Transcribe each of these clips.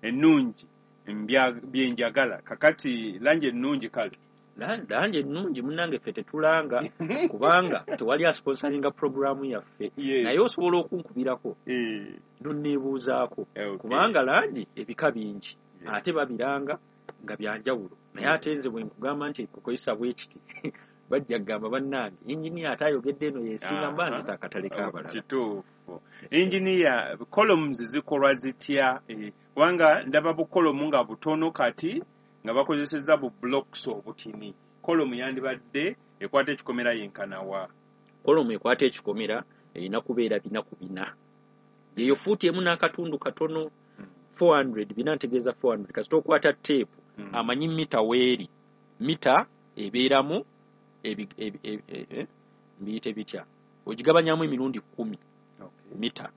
Ennungi byenjagala. Kakati langi ennungi kale. Langi ennungi munnange ffe tetulanga kubanga tewali asponsoringa puroguramu yaffe. Naye osobola okunkubirako nonneebuuzaako kubanga langi ebika bingi ate babiranga nga byanjawulo. Naye ate nze bwe nkugamba nti kukozesa bwe kiti bajja kugamba bannange inginiya ate ayogedde eno yesinga mba nzita akatale k'abalala. Kituufu. Inginiya, columns zikolwa zitya? Kubanga ndaba bukolomu nga butono kati nga bakozesezza bu blocks obutini. Kolomu yandibadde ekwata ekikomera yenkana wa? Kolomu ekwata ekikomera erina kubeera 4 ku 4. Eyo fuuti emu n'akatundu katono 400, bina ntegeeza 400. Kasita okwata teepu amanyi mita weeri. Mita ebeeramu mbiyite bitya? Ogigabanyamu emirundi 10 mita.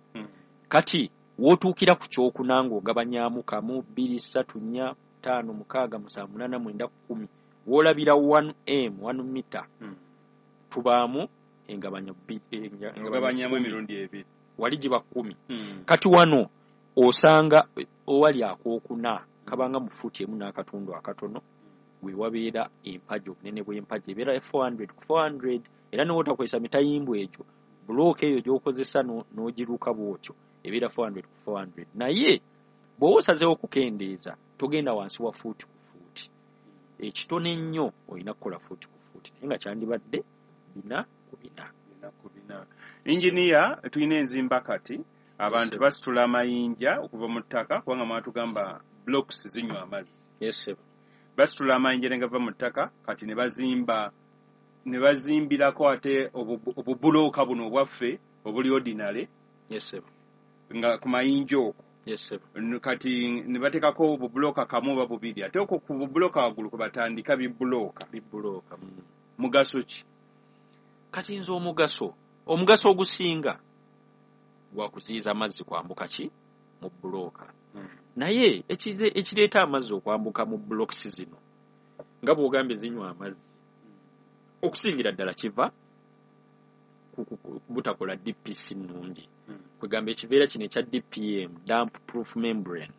Kati w'otuukira ku kyokuna ng'ogabanyamu 1, 2, 3, 4, 5, 6, 7, 8, 9, 10. W'olabira 1m, 1 mita. Tubaamu engabanyo ogabanyamu emirundi 2. Wali giba 10. Kati wano osanga owali akookuna kabanga mu fuuti emu n'akatundu akatono we wabeera empagi, obunene bw'empagi ebeera 400 ku 400. Era n'otakozesa mitayimbwa egyo, bulooka eyo gy'okozesa n'ogiruka bw'otyo ebeera 400 ku 400. Naye bw'oba osazeewo okukendeeza togenda wansi wa fuuti ku fuuti. Ekitono ennyo olina kukola fuuti ku fuuti naye nga kyandibadde 4 ku 4. 4 ku 4. Inginiya, tulina enzimba kati abantu basitula amayinja okuva mu ttaka kubanga mwatugamba blocks zinywa amazzi. Yes. Basitula amayinja ne gava mu ttaka kati ne bazimba ne bazimbirako ate obubulooka buno obwaffe obuli ordinary. Yes. Nga ku mayinja okwo. Yes. Kati ne bateekako obubulooka kamu oba bubiri ate okwo ku bubulooka waggulu kwe batandika bibulooka. Bibulooka. Mugaso ki? Kati nze omugaso ogusinga gwa kuziyiza amazzi kwambuka ki mu bulooka. Naye ekireeta amazzi okwambuka mu blocks zino nga bw'ogambye zinywa amazzi okusingira ddala kiva butakola DPC nnungi. Kwegamba ekiveera kino ekya DPM, damp proof membrane,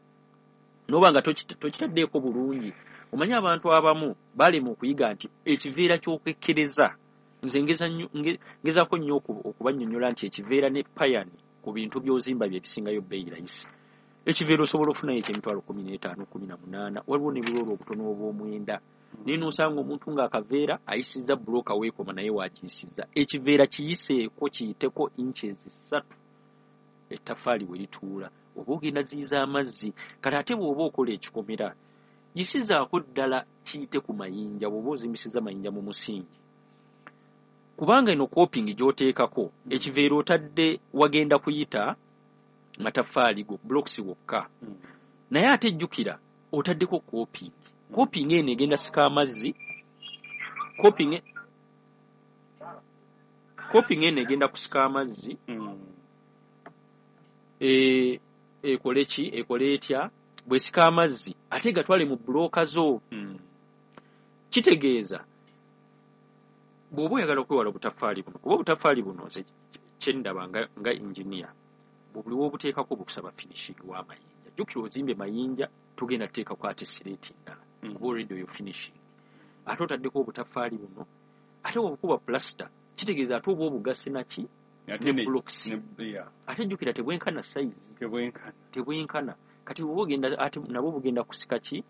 n'oba nga tokitaddeeko bulungi. Omanyi abantu abamu balema okuyiga nti ekiveera ky'okwekkereza. Nze ngezaako nnyo okubannyonnyola nti ekiveera ne payani ku bintu by'ozimba bye bisingayo bbeeyi layisi. Ekiveera osobola okufunayo eky'emitwalo 15, 18, waliwo ne buloolo obutono obw'omwenda. Naye n'osanga omuntu ng'akaveera ayisizza bulooka weekoma naye waagiyisizza. Ekiveera kiyiseeko kiyiteko inches 3 ettaffaali we lituula oba ogenda ziyiza amazzi. Kati ate bw'oba okola ekikomera yisizaako ddala kiyite ku mayinja bw'oba ozimbisizza mayinja mu musingi. Kubanga eno coping gy'oteekako ekiveera otadde wagenda kuyita mataffaali go blocks wokka. Naye ate jjukira otaddeko coping. Coping eno egenda sika amazzi. Coping eno egenda kusika amazzi. Ekole ki? Ekole etya? Bw'esika amazzi ate gatwale mu bulooka zo. Kitegeeza bw'oba oyagala okwewala obutaffaali buno, kuba obutaffaali buno nze kye ndaba nga engineer, buli w'obuteekako bukusaba finishing w'amayinja. Jjukira ozimbye mayinja togenda kuteekako ate sireeti ndala kuba already oyo finishing. Ate otaddeko obutaffaali buno, ate bw'obukuba plaster kitegeeza ate oba obugasse naki ne blocks. Ate jjukira tebwenkana size. Tebwenkana. Kati bw'oba ogenda ate nabwo bugenda kusika ki?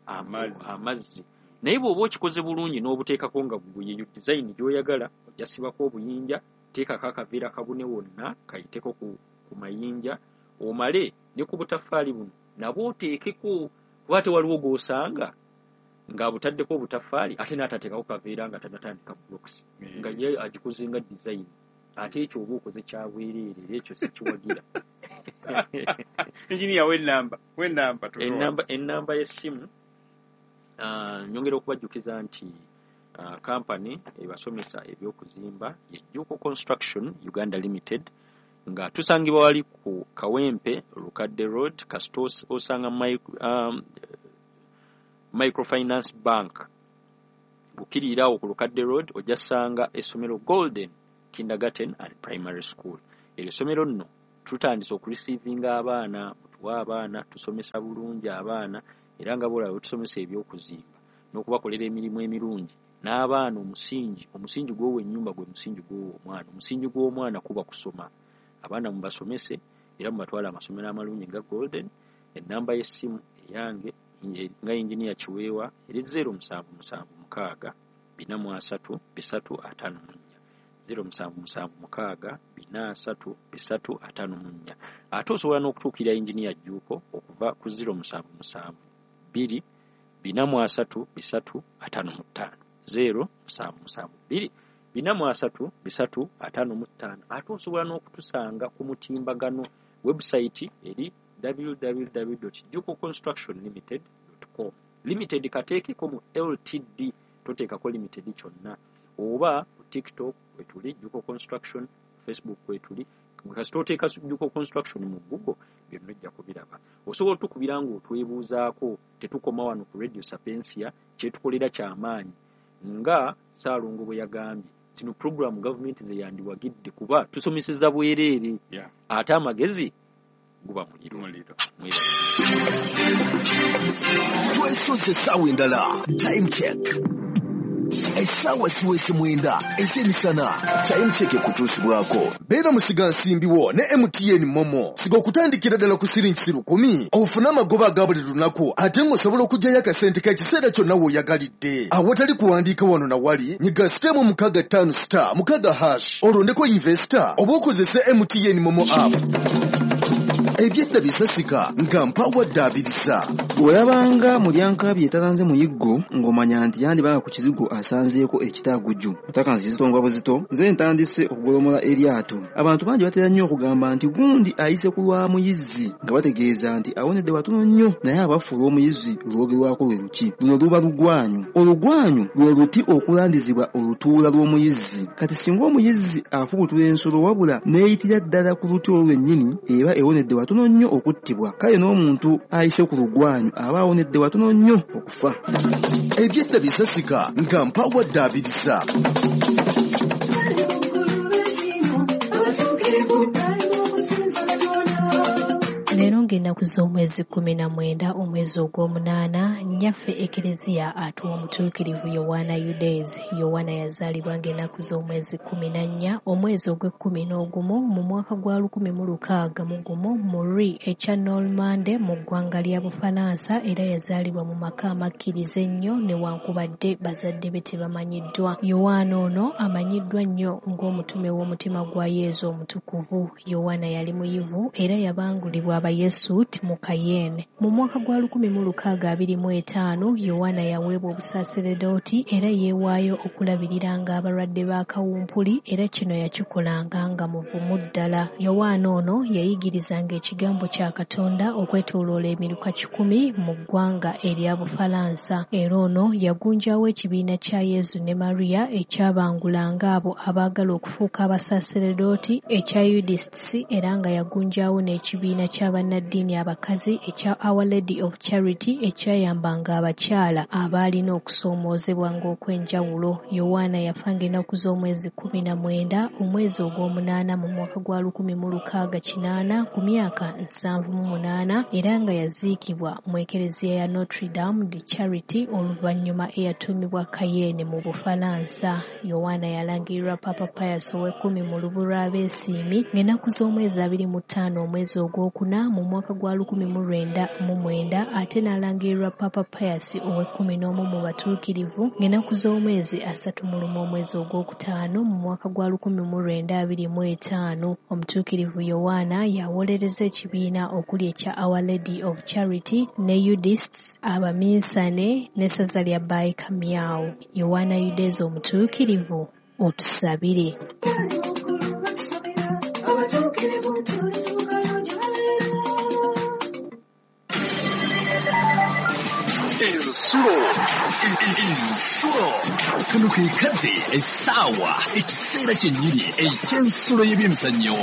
Amazzi. Naye bw'oba okikoze bulungi n'obuteekako nga yeyo design gy'oyagala, ojja sibako obuyinja, teekako akaveera kabune wonna kayiteko ku mayinja, omale ne ku butaffaali buno nabwo oteekeko, kuba ate waliwo gw'osanga ng'abutaddeko obutaffaali ate n'atateekako kaveera nga tannatandika blocks, nga ye agikoze nga design. Ate ekyo oba okoze kya bwereere, era ekyo sikiwagira. Engineer, w'ennamba ennamba y'essimu. Nyongera okubajjukiza nti kampani ebasomesa ebyokuzimba ye Jjuuko Construction Uganda Limited, nga tusangibwa wali ku Kawempe Lukadde Road, kasita osanga Microfinance Bank bukirirawo ku Lukadde Road, ojja sanga essomero Golden Kindergarten and Primary School. Eryo essomero nno tutandise okureceivinga abaana, Tuwa abaana, tusomesa bulungi abaana, era nga bw'olaba bwe tusomesa eby'okuzimba n'okubakolera emirimu emirungi n'abaana. Omusingi gw'owa ennyumba gwe musingi gw'owa omwana. Omusingi gw'omwana kuba kusoma. Abaana mubasomese era mubatwale amasomero amalungi nga Golden. Ennamba y'essimu eyange nga Inginiya Kiweewa eri 0776 433 354, 0776 433 354. Ate osobola n'okutuukirira Inginiya Jjuuko okuva ku 0772 433 355, 0772 433 355. Ate osobola n'okutusanga ku mutimbagano, website eri www.jukoconstructionlimited.com. Limited kateekeko mu Ltd, toteekako limited kyonna. Oba ku TikTok kwetuli Juko Construction, Facebook kwetuli. Kasita oteeka Juko Construction mu Google, byonna ojja kubiraba. Osobola otukubira ng'otwebuuzaako. Tetukoma wano ku Radio Sapientia, kyetukolera kyamaanyi. Nga Ssaalongo bwe yagambye, zino puroguramu gavumenti ze yandiwagidde kuba tusomeseza bwereere. Ate amagezi guba muliro. Muliro. Mwebale. Twesoze essaawa endala. Time check, essaawa ziweze 9 ez'emisana. Time check ekutuusibwako beera musiga nsimbiwo ne MTN MoMo. Siga okutandikira ddala ku siringi 1,000 ofune amagoba aga buli lunaku, ate ng'osobola okuggyayo akasente k'ekiseera kyonna w'oyagalidde awatali kuwandiika wano na wali. Nyiga star 65 star 6 hash, olondeko investor oba okozese MTN MoMo app. Ebyedda bisasika nga mpawadde abiriza. Bw'olabanga mulyankabi etalanze muyiggo, ng'omanya nti yandibanga ku kizigo asanzeeko ekitaguju. Otakanzi kizito buzito. Nze ntandise okugolomola eryato. Abantu bangi batera nnyo okugamba nti gundi ayise ku lwa muyizzi, nga bategeeza nti awonedde watono nnyo. Naye abaffe, olw'omuyizzi lwogerwako lwe luki? Luno luba lugwanyu. Olugwanyu lwe luti okulandizibwa olutuula lw'omuyizzi. Kati singa omuyizzi afubutula ensolo wabula n'eyitira ddala ku luti olwo lwennyini, eba ewonedde watono nnyo okuttibwa. Kale n'omuntu ayise ku lugwanyu aba awonedde watono nnyo okufa. Ebyedda bisasika nga mpawadde abiriza. Leero ng'ennaku z'omwezi 19 omwezi ogw'omunaana, nnyaffe Ekereziya atuwa omutuukirivu Yowaana Eudes. Yowaana yazaalibwa ng'ennaku z'omwezi 14 omwezi ogw'e-11 mu mwaka gwa 1601 mu Rouen ekya Normande mu ggwanga lya Bufalansa, era yazaalibwa mu maka amakkiriza ennyo newankubadde bazadde be tebamanyiddwa. Yowaana ono amanyiddwa nnyo ng'omutume w'omutima gwa Yezu omutukuvu. Yowaana yali muyivu era yabangulibwa Abayesuuti mu Cayenne. Mu mwaka gwa 1625 Yowaana yaweebwa obusaaseredooti era yeewaayo okulabiriranga abalwadde ba kawumpuli, era kino yakikolanga nga muvumu ddala. Yowaana ono yayigirizanga ekigambo kya Katonda okwetooloola emiruka 100 mu ggwanga erya Bufalansa. Era ono yagunjaawo ekibiina kya Yezu ne Maria ekyabangulanga abo abaagala okufuuka abasaaseredooti ekya Eudists, era nga yagunjaawo n'ekibiina ky'abannaddiini abakazi ekya Our Lady of Charity ekyayambanga abakyala abaalina okusoomoozebwa ng'okw'enjawulo. Yowaana yafa ng'ennaku z'omwezi 19 omwezi ogw'omunaana mu mwaka gwa 1608 ku myaka 78, era nga yaziikibwa mu Ekereziya ya Notre Dame de Charity, oluvannyuma eyatuumibwa Cayenne mu Bufalansa. Yowaana yalangirirwa Papa Pius ow'ekkumi mu lubu lw'abeesiimi ng'ennaku z'omwezi 25 omwezi ogwokuna mu mwaka gwa 1909, ate n'alangirirwa Papa Pius ow'e-11 mu batuukirivu ng'ennaku z'omwezi 31 omwezi ogwokutaano mu mwaka gwa 1925. Omutuukirivu Yowaana yawolereza ekibiina okuli ekya Our Lady of Charity ne Eudists, abaminsane n'essaza lya Baikamiao. Yowaana Eudes omutuukirivu, otusabire. Ensulo, ensulo, kano ke kadde, essaawa, ekiseera kyennyini eky'ensulo y'ebyemizannyo.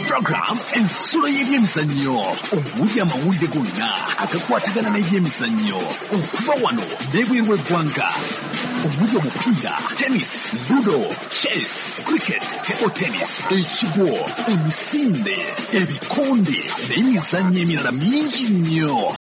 Program Ensulo y'ebyemizannyo, omuli amawulire gonna agakwatagana n'ebyemizannyo okuva wano n'ebweru w'eggwanga, omuli omupiira, tennis, ludo, chess, cricket, table tennis, ekigwo, emisinde, ebikonde n'emizannyo emirala mingi nnyo.